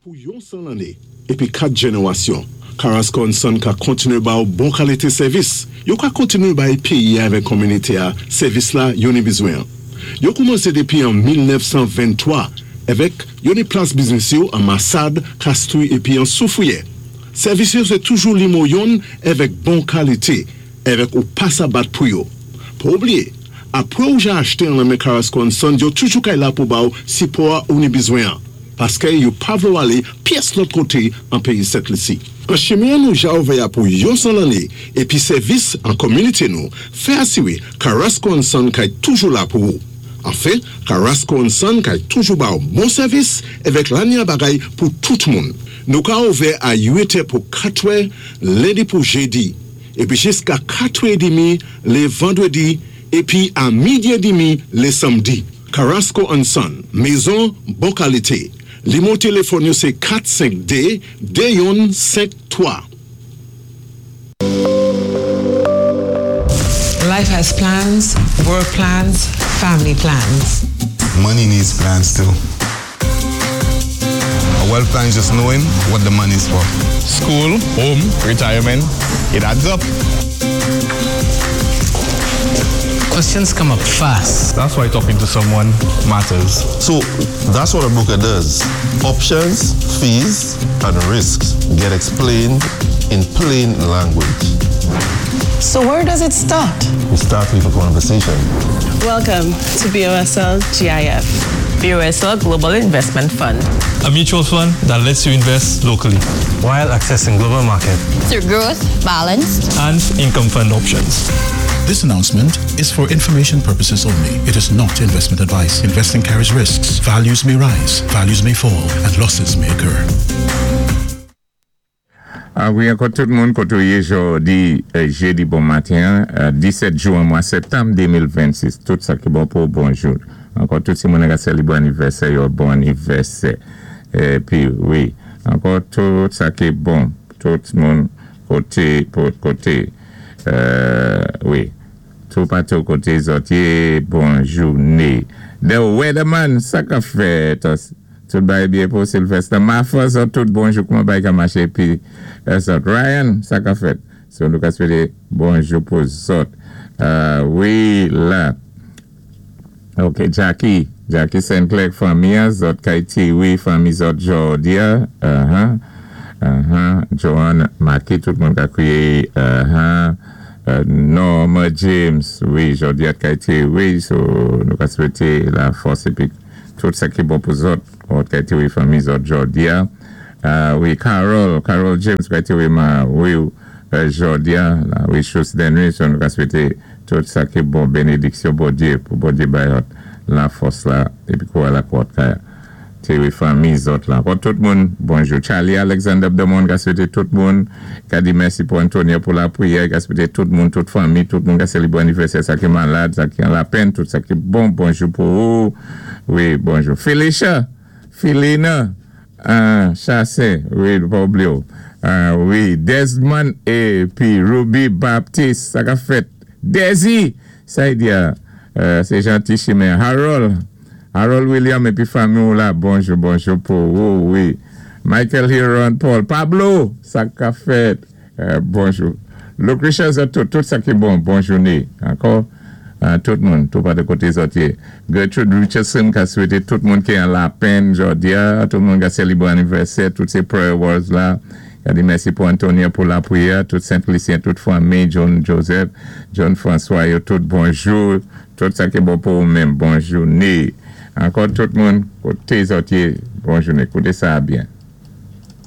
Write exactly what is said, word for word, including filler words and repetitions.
Pou yon san lanné épi kat jénéwasyon, Carrasco and Son ka kontiné ba ou bon kalité sèvis. Yo ka kontiné bay péyi avèk kominité-a sèvis la yo ni bizwen. Yo koumansé dépi an mil nèf san venntwa avèk yo ni plas biznis yo an Massade, Castries épi an Soufrière. Sèvis yo sé toujou nimewo youn avèk bon kalité, avèk ou pa sa bat pou yo. Pa oubliyé, apwé ou ja achté an men Carrasco and Son, yo toujou kay la pou ba ou sipò ou ni bizwen. Paské yo pa vlé ou alé pyès lòt koté an péyi Sent Lisi. An chimen nou ja ouvè pou yon san lanné épi sèvis an kominité nou, fè asiwé Carrasco and Son kay toujou la pou ou. Anfen, Carrasco and Son kay toujou ba ou bon sèvis avèk lanya bagay pou tout moun. Nou ka ouvè a uit è pou katwè, lendi pou jédi, épi jiska katwè édmi lé vandwédi, épi a midi édmi lé sanmdi. Carrasco and Son, mézon bon kalité. Nimewo téléfòn yo sé kat senk dé de youn senk twa. Life has plans, work plans, family plans. Money needs plans too. A wealth plan is just knowing what the money is for. School, home, retirement, it adds up. Questions come up fast. That's why talking to someone matters. So that's what a broker does. Options, fees, and risks get explained in plain language. So where does it start? We start with a conversation. Welcome to B O S L G I F. B O S L Global Investment Fund. A mutual fund that lets you invest locally while accessing global market through growth, balanced, and income fund options. This announcement is for information purposes only. It is not investment advice. Investing carries risks. Values may rise, values may fall, and losses may occur. Ah wi, ankò tout moun koté ou yé jòdi, jédi bon maten, disèt jwen mwa septanm de mil vennsis. Tout sa ki bon pou bonjou. Ankò tout si moun ka sélébwé anivèsè, yo bon anivèsè. Épi, wi, ankò tout sa ki bon, tout moun koté, koté, wi, tout patou koté zòt yé, bon jouné. The Weatherman, sa ka fèt, tout bay byen pou Sylvester. Mafa, zòt tout bonjou, kouman bay ka maché, épi, zòt Ryan, sa ka fèt. So, nou ka swété bonjou pou zòt. Wi, la. Ok, Jackie, Jackie Saint Clair, fanmi, zòt Kaiti, wi, fanmi zòt jòdi-a, uh-huh, uh-huh, Joanne Maki, tout moun ka kwiyé, uh-huh, Norma James, wi, jòdi-a Kaiti, wi, so nou ka swété la fòs épi tout sa ki bon pou zòt, zòt Kaiti, wi, fanmi zòt jòdi-a. Wi, Carol, Carol James, Kaiti, wi, ma, wi, jòdi-a, la, wi, chous denwi, so nou ka swété tout sa ki bon, bénédiksyon Bondyé, pou Bondyé bay la fòs la, épi kwa la kwat kaya. Té wi fanmi zòt la. Pou tout moun, bonjou. Charlie Alexander Demon, ka swété tout moun, ka di mèsi pou Antonio pou la priyè, ka swété tout moun, tout fanmi, tout moun ka sélébwé anivèsè, sa ki malad, sa ki an lapenn, tout sa ki bon, bonjou pou ou. Wi, bonjou. Felicia, Felina, Chasse, wi, pa oubliyé ou. Wi, Desmond épi Ruby Baptiste, sa ka fèt. Desi, sa y di a, sé janti chimen. Harold, Harold William épi fanmi ou la, bonjou, bonjou pou ou, wi. Michael Hiron Paul, Pablo, sa ka fèt, bonjou. Lucretia tout, tout sa ki bon, bon jouné. Ankò, tout moun, tout pa de koté zòt yé. Gertrude Richardson ka swété tout moun ki an lapenn jòdi-a, tout moun ka sélébwé anivèsè, tout sé prayer warriors la. Ka di mèsi pou Antonio pou la priyè, tout Saint-Lucien, tout fanmi, John Joseph, John François, yo tout bonjou, tout sa ki bon pou ou menm, bon jouné. Ankò tout moun, koté zòt yé, bon jouné, kouté sa byen.